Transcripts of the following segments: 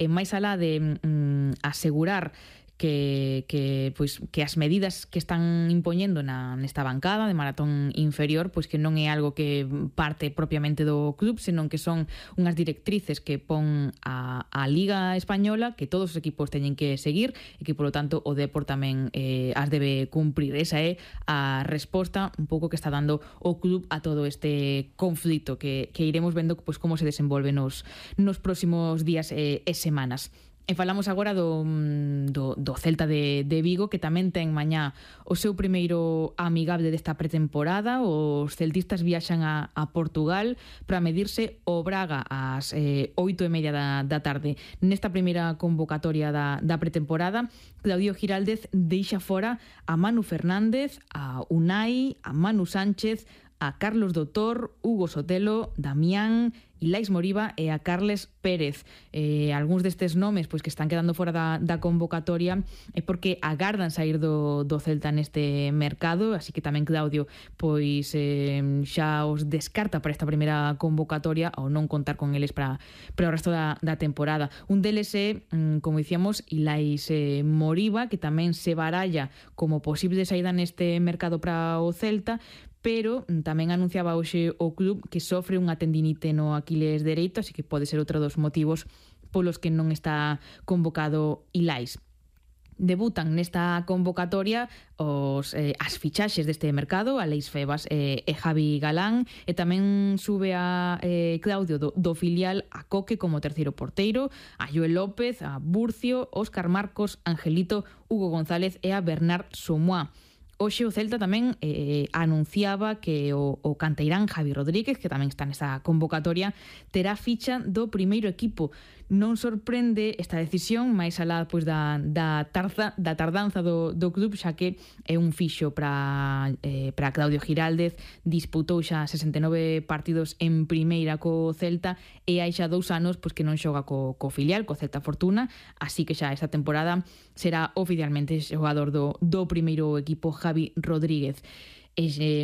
máis alá de asegurar que as medidas que están impoñendo nesta bancada de maratón inferior, pois que non é algo que parte propiamente do club, senón que son unhas directrices que pon a Liga Española, que todos os equipos teñen que seguir e que, polo tanto, o Depor tamén as debe cumprir. Esa é a resposta un pouco que está dando o club a todo este conflito que iremos vendo pois como se desenvolve nos próximos días e semanas. E falamos agora do Celta de Vigo, que tamén ten mañá o seu primeiro amigable desta pretemporada. Os celtistas viaxan a Portugal para medirse o Braga ás 8:30 da tarde. Nesta primeira convocatoria da pretemporada, Claudio Giraldez deixa fora a Manu Fernández, a Unai, a Manu Sánchez, a Carlos Doutor, Hugo Sotelo, Damián, Ilais Moriba e a Carles Pérez. Algúns destes nomes pois que están quedando fora da convocatoria é porque agardan sair do Celta neste mercado, así que tamén Claudio pois xa os descarta para esta primeira convocatoria ao non contar con eles para o resto da temporada. Un deles é, como dicíamos, Ilais Moriba, que tamén se baralla como posible saída neste mercado para o Celta, pero tamén anunciaba hoxe o club que sofre unha tendinite no Aquiles dereito, así que pode ser outro dos motivos polos que non está convocado Ilais. Debutan nesta convocatoria as fichaxes deste mercado, Aleix Febas e Javi Galán, e tamén sube a Claudio do filial a Coque como terceiro porteiro, a Joel López, a Burcio, Óscar Marcos, Angelito, Hugo González e a Bernard Somoa. Hoxe o Celta tamén anunciaba que o canteirán Javi Rodríguez, que tamén está nesa convocatoria, terá ficha do primeiro equipo. Non sorprende esta decisión, máis alá pois da tardanza do club, xa que é un fixo para Claudio Giraldez. Disputou xa 69 partidos en primeira co Celta e hai xa 2 anos pois que non xoga co filial, co Celta Fortuna, así que xa esta temporada será oficialmente xogador do primeiro equipo Javi Rodríguez.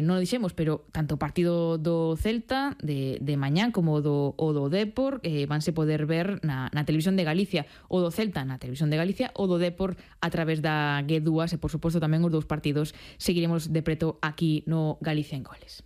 Non o dixemos, pero tanto o partido do Celta de mañán como o do Depor vanse poder ver na televisión de Galicia, o do Celta na televisión de Galicia, o do Depor a través da G2, e por suposto tamén os dous partidos seguiremos de preto aquí no Galicia en Goles.